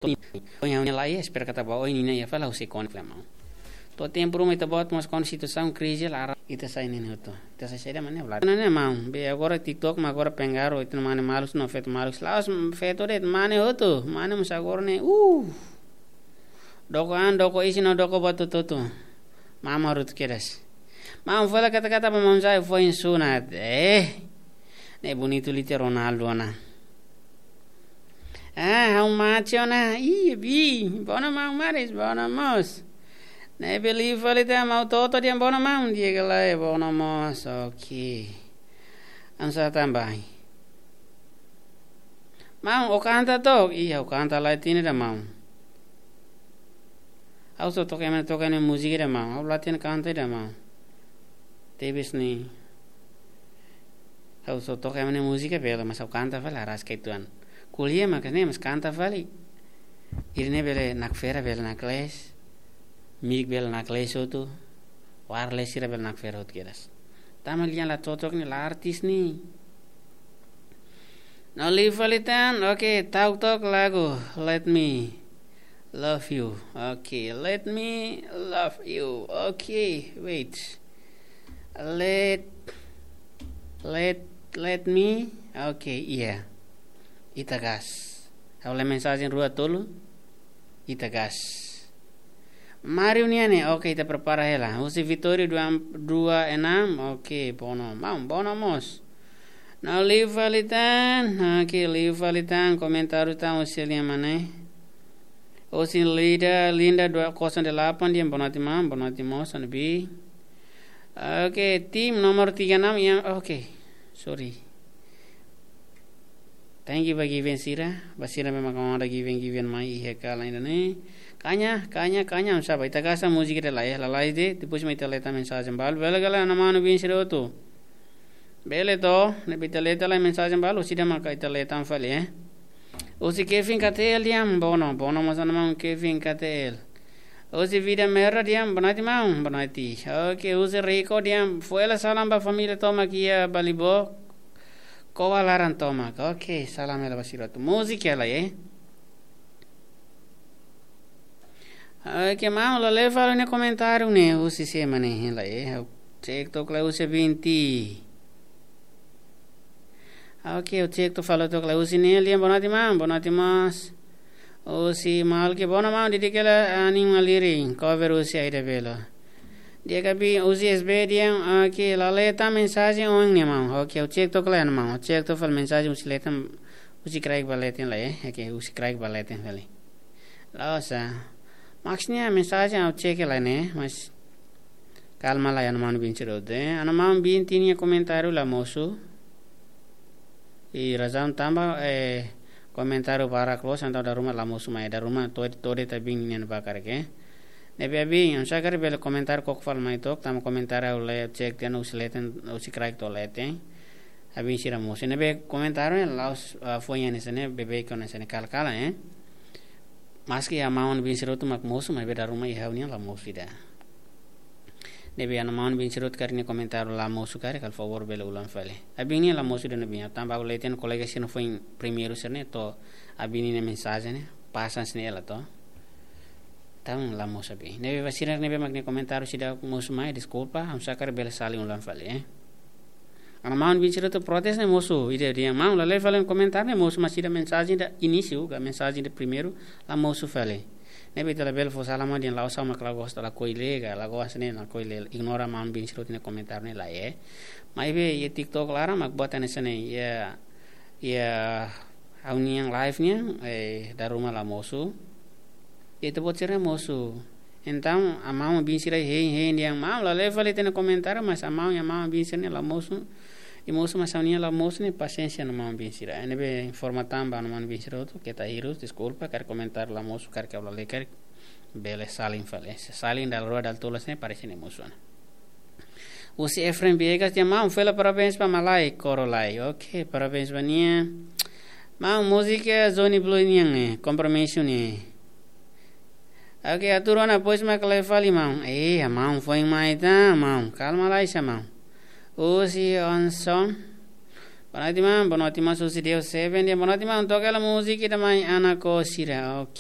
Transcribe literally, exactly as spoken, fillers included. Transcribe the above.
Ohin ha'u-nia la'en, espera katak ba oin ninia iha fali ha'u sei kona fali maun. To'o tempu ruma ita-boot mós kona situasaun krize laran, ita sai ne'e hotu. Ita sai saida mak ne'e, la. Ne'e maun, be agora TikTok mak agora pengaruh, ita mane malus no feto malus. La'ós feto de'it, mane hotu, mane mós agora ne'e, uh. Doko an, doko isin no doko buat hotu-hotu. Mama rutu kedas. Maun fali kata-kata ba maun sai foin sunat. Eh. Ne'e bonitu liu tiha Ronaldo ona. Ah, ha'u mate ona. Ih, bi. Bono maun maris, bono mós. Ne'ebé liu fali tiha maun toto dehan bono maun, di'ak ka lae, bono mós. Oke. Ansa tambai. Maun, ó kanta took? Ih, ha'u kanta la hatene ida maun. Ha'u só toka ema, toka ema múzika ida maun. Ha'u la hatene kanta ida maun. Tebes ne'e. Ha'u só toka ema múzika bele, mas ha'u kanta fali, aras ke tuan. Ko'alia mak ne'e, mas kanta fali. Ida-ne'e bele nakfera, bele naklees. Mic bele naklees hotu. Wireless sira bele nakfera hotu kedas. Tanba lian la cocok ne'e, la artis ne'e. No liu fali tan, oke, ta'uk took lagu, Let Me Love You. Oke, Let Me Love You. Oke, wait. Let, let, let me. Oke, iya. Ita gas. Ha'u lee mensajen rua tolu. Ita gas. Mario nian ne'e, oke, ita prepara hela. Husi Vitória dua, dua enam, oke, bono. Maun, bono mós. No liu fali tan, oke, liu fali tan, komentáriu tan, husi lia mana. Husi Linda, Linda dua kosong delapan, dehan boa noite maun, boa noite mós, anu bi. Oke, tim nomor tiga enam yang, oke, sorry. Thank you ba given sira, ba sira memang kamu ada given, given mai iha kala ini nih. Kanya, kanya, kanya, sapa? Ita kasa múzika ida lai, lalais de'it, depois mai ita lee tan mensajen balu, bele ka lae, ana manu bin sira hotu. Bele to, ne'ebé ita lee tan lai mensajen balu, sira maka ita lee tan fali, eh. Husi Kevin K T L dehan, bono, bono mós ana maun Kevin K T L. Husi Vida Merah dehan, boa noite maun, boa noite. Oke, husi Rico dehan, fó hela salam ba família tomak iha Balibó, Koa laran tomak. Oke, salam hela ba sira hotu. Múzika hela, eh. Oke, maun, la lee fali nia komentáriu ne'e, husi sé mak ne'e, hela, eh. Ha'u cek took lai husi Binti. Oke, ha'u cek took fali took lai husi ne'e, lian boa noite maun, boa noite mós. Husi Malki, bono maun, didik hela, ah, nia malirin, cover husi Aida Belo. Di'ak ka bi husi S B dehan, oke, la lee tan mensajen ohin ne'e maun. Oke, ha'u cek took lai maun, ha'u cek took fali mensajen husi lee tan, husi kraik ba lee tan lai, eh. Oke, husi kraik ba lee tan fali. La'ós, ah. Maksudnya mensajen ha'u cek lai ne'e, mas kalma lai, ana maun bin sira hotu, eh. Ana maun bin tinia komentáriu la mosu. I razaun tanba, eh, komentáriu barak loos, entaun dala ruma la mosu mai, dala ruma to'o, to'o de'it abin nian barak ke. Ne'ebé abin, ha'u sá karik bele komentáriu koko fali mai took, tanba komentáriu ha'u lee, cek tan husi lee tan, husi kraik to'o lee tan. Abin sira mosu. Ne'ebé komentáriu ne'e la'ós, ah, foin hanesan ne'e, beibeik hanesan ne'e kala-kala, eh. Maski ana maun bin sira hotu mak mosu, maibé dala ruma iha ha'u-nian la mosu ida. Ne'ebé ana maun bin sira hotu karik nia komentáriu la mosu karik, halo favór bele ulang fali. Abin nian la mosu ida ne'ebé, tanba ha'u lee tan kolega sira foin primeiru sira ne'e to'o abin nia mensajen ne'e, pasan sira ne'e hela to'o. Entaun la mosu abin. Ne'ebé ba sira ne'ebé mak nia komentáriu seidauk mosu mai, deskulpa, ha'u sá karik bele salin ulang fali, eh. Ana maun bin sira hotu protes ne'e mosu, ida dehan maun la lee fali komentáriu ne'e mosu, mas ida mensajen ida inísiu, ka mensajen ida primeiru, la mosu fali. Ne'ebé ita labele fó salah maun dehan la'ós ha'u mak la gosta, lakohi lee, ka la gosta ne'e, lakohi lee, ignora maun bin sira hotu nia komentáriu ne'e lai, eh. Maibé iha TikTok laran mak buat hanesan ne'e, iha, iha ha'u-nian live nian, eh, dala ruma la mosu. Ita-boot sira mosu. Entaun, ana maun bin sira hein, hein dehan maun, la lee fali ita-nia komentáriu, mas ana maun, ana maun bin sira ne'e la mosu. I mosu mas ha'u-nian la mosu ne'e, pasiénsia ana maun bin sira. Ne'ebé informa tan ba ana maun bin sira hotu, keta hirus, deskulpa, karik komentáriu la mosu, karik ha'u la lee, karik bele salin fali. Se salin dala rua dala tolu hanesan ne'e, parese ne'e mosu ona. Husi Efraim Viegas dehan maun, fila parabéns ba malae, koro lai. Oke, parabéns ba nia. Maun, múzika Johnny Blue nian ne'e, kompromisu ne'e. Oke, atur ona depois mak lee fali maun. Eh, maun foin mai tan, maun. Kalma lai sa maun. Husi Onson. Boa noite, maun. Boa noite, maun. Susi Deus Seven. Dia boa noite, maun. Toka hela múzika ida mai Ana Ko Sira. Ok.